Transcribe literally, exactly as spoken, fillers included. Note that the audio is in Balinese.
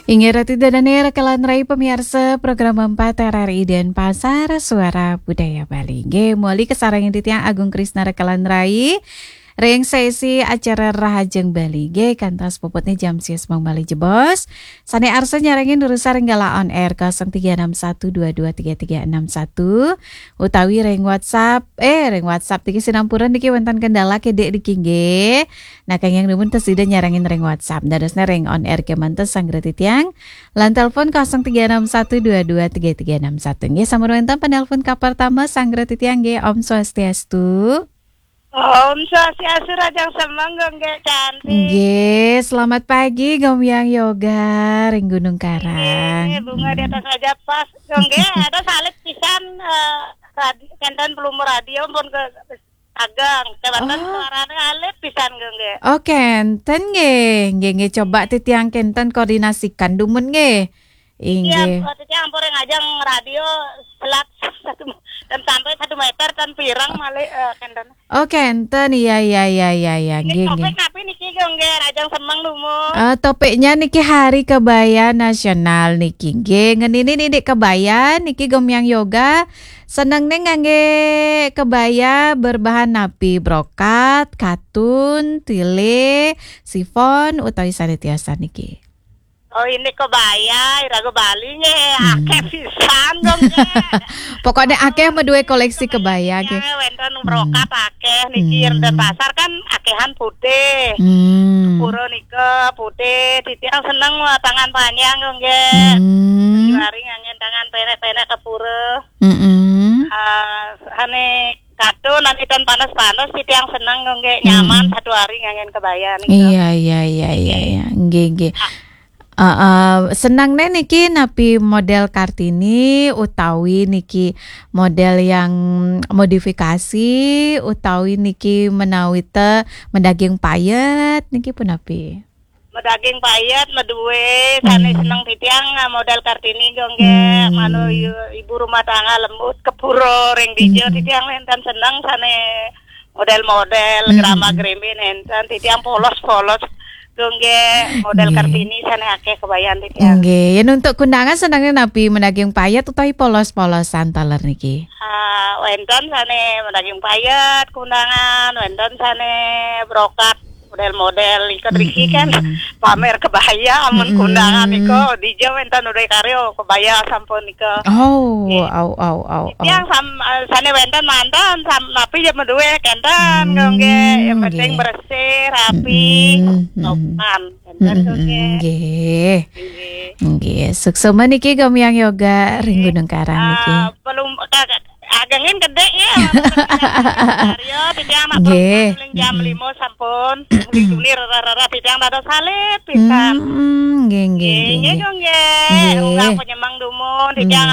Inggih ratu dané rekelan rai pamiarsa program empat R R I Denpasar, Suara Budaya Bali. Nggih, muli kasarengin titiang Agung Krisna rekelan rai ring sesi acara Rahajeng Bali. Nggih, kantos puputné jam sia semeng malih jebos. Sané arsa nyarengin durusang ring galah on air kosong tiga enam satu dua dua tiga tiga enam satu utawi ring WhatsApp, eh, ring WhatsApp niki sinampura niki wénten kendala kidik niki nggih. Nah, kenging dumun ten sida nyarengin ring WhatsApp. Dadosné ring on air kémanten sanggra titiang. Lan telepon kosong tiga enam satu dua dua tiga tiga enam satu. Nggih, sampun wénten penelpon kapertama sanggra titiang nggih. Om Swastiastu. Om Swastiastu, rahajeng semeng, Gung Gé cantik. Nggih, selamat pagi, Gomyang Yoga, ring Gunung Karang. Nggih, bunga di atas meja pas. Gung Gé, ada salib pisan, eh, radi-, kénten pelumur radio pun ke ageng. Kémanten Oh. Suaranya alip pisan, Gung Gé. Oh, kénten nggih. Nggih, nggih, coba titiang kénten koordinasikan dumun nggih. Iya, inggih. Waktu itu ampun ngajeng radio selat satu dan sampai satu meter tan pirang malih, eh, kénten. Oh, kénten. Iya, iya, iya, iya, iya. Ini nggih, topik nggih. Napi niki, Gung Gé, rahajeng semeng dumun? Eh, topiknya niki Hari Kebaya Nasional niki. Nggih, ngeninin indik kebaya niki Gomyang Yoga. Senengné nganggé kebaya berbahan napi? Brokat, katun, tile, sifon, utawi sané tiosan niki? Oh, ini kebaya, iraga Bali nggih, Hmm. Akéh pisan, Gung Gé. Pokoknya akéh madué koleksi kebaya nggih. Wénten brokat Hmm. Akéh niki, Hmm. Denpasar kan akéhan putih. Hmm. Pura nika putih, titiang seneng wah tangan panjang, Gung Gé. Hmm. Juari nganggén tangan pendek-pendek ke pura. Mm-mm. Ah, ane katun, ane tan panas-panas, titiang seneng, Gung Gé, nyaman. Mm-mm. Satu hari nganggén kebaya nika. Iya, iya, iya, iya, iya. Nggih, nggih. Ah. Heeh, senengné niki napi model Kartini utawi niki model yang modifikasi utawi niki menawi te medaging payet niki punapi? Medaging payet, madué, sané Hmm. seneng titiang, ah, model Kartini, Gung Gé. Hmm. Manu i-, ibu rumah tangga lembut, ke pura ring dija, Hmm. titiang nénten seneng sané model-model, Hmm. grama gremi nénten, titiang polos-polos, Gung Gé, model Nggih. Kartini sané akéh kebayan titiang. Nggih, yén untuk kundangan senengné napi, medaging payet utawi polos-polosan taler niki? Ah, wénten sané medaging payet kundangan, wénten sané brokat model-model, nika driki kan Mm-mm. pamer kebaya, amun Mm-mm. kundangan nika, dija wénten udah karya kebaya sampun nika. Oh, nggih. Au, au, au, au. Titiang sam-, eh, sané wénten manten, sam-, napi ya madué kénten, Hmm, Gung Gé. Yang penting nggih. Bersih, rapi, Mm-mm, mm-mm. Sopan. Kénten, Mm-mm, Gung Gé. Nggih. Nggih. Nggih, suksma niki Gomyang Yoga ring Nggih. Gunung Karang niki. Ah, belum, ka-, ka-, agengin gedé ya. Karya, titiang nak Nggih. Paling jam Mm-mm. lima sampun. Uli tuni rara-rara, titiang dados salib pisan. Mm-mm, nggih, nggih, Nggih, nggih, nggih, nggih. Gung Gé. Nggih. Unggal penyemang dumun, titiang Mm.